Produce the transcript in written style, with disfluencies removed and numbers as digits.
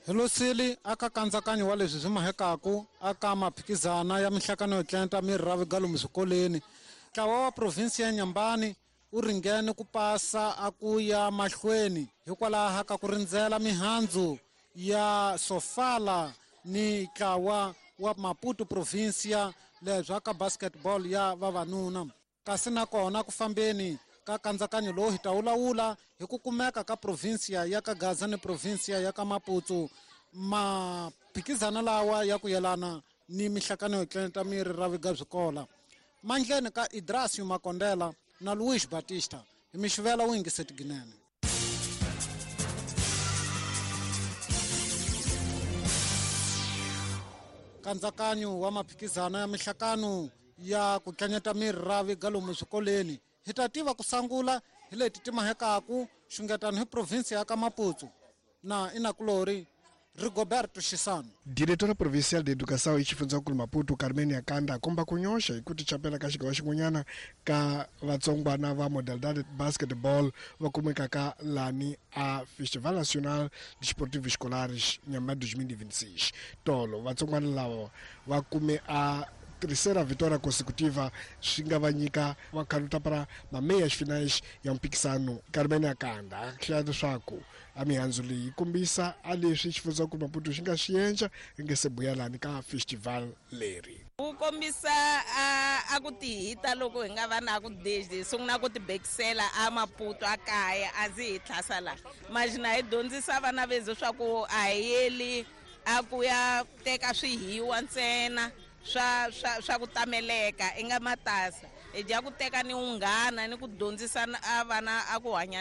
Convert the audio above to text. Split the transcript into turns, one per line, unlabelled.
Hi losile aka kandzakanyo wa leswi swi mahekaku aka maphikizana ya mihlakano yo tlenta miri ra vigalomu swikoleni. Ntlawa wa provinsi ya Nyambani wu ringene ku pasa a ku ya mahlweni hikwalaho ka ku rindzela mihandzu ya Sofala ni ntlawa wa Maputo provincia lebya ka basketball ya vavanuna. Kasi nakona ku fambeni ka kandzakanyo lowu hi ta wulawula hi ku kumeka ka provinsia ya ka Gaza ni provinsia ya ka Maputo maphikizana lawa ya ku yelana ni mihlakano yo tlenta miri ra viga byikola mandleni ka Idrasio Makondela na Luis Batista hi mixivela wu yingiseti ginene. Kandzakanyo wa maphikizana ya mihlakano ya ku tlanyeta miri ra viga lomu swikoleni hi ta tiva ku sangula hi leti ti mahekaku xungetano hi provinsi ya ka Maputo na inakulori Rigoberto Chisano.
Diretora Provincial de Educação e Xifundzankulu Maputo Carmen Yakanda a komba ku nyoxa hi ku tichapela ka xigawa xin'wanyana ka vatsongwana va modalidade basketball va kumekaka lani a Festival Nacional Desportivo Escolares Nyamba 2026. Tolo vatsongwana lava va kume a terceira vitória consecutiva swi nga va nyika va khaluta para mameias finais ya mphikisano. Carmen Yakanda a hlaya leswaku a mihandzu leyi yi kombisa a leswi xifundzankulu Maputo xi nga swi endla yi nge se buya lani ka festival leri.
Wu kombisa a ku tihita loko hi nga va na ku deji sungula ku tibekisela a Maputo a kaya a ndzi hi tlhasa la majina hi dyondzisa vana vezu swa ku a hi yeli a ku ya teka swihiwa ntsena swa swa swa ku tameleka i nga matasa hi dya ku teka ni unghana ni ku dyondzisa a vana a ku hanya.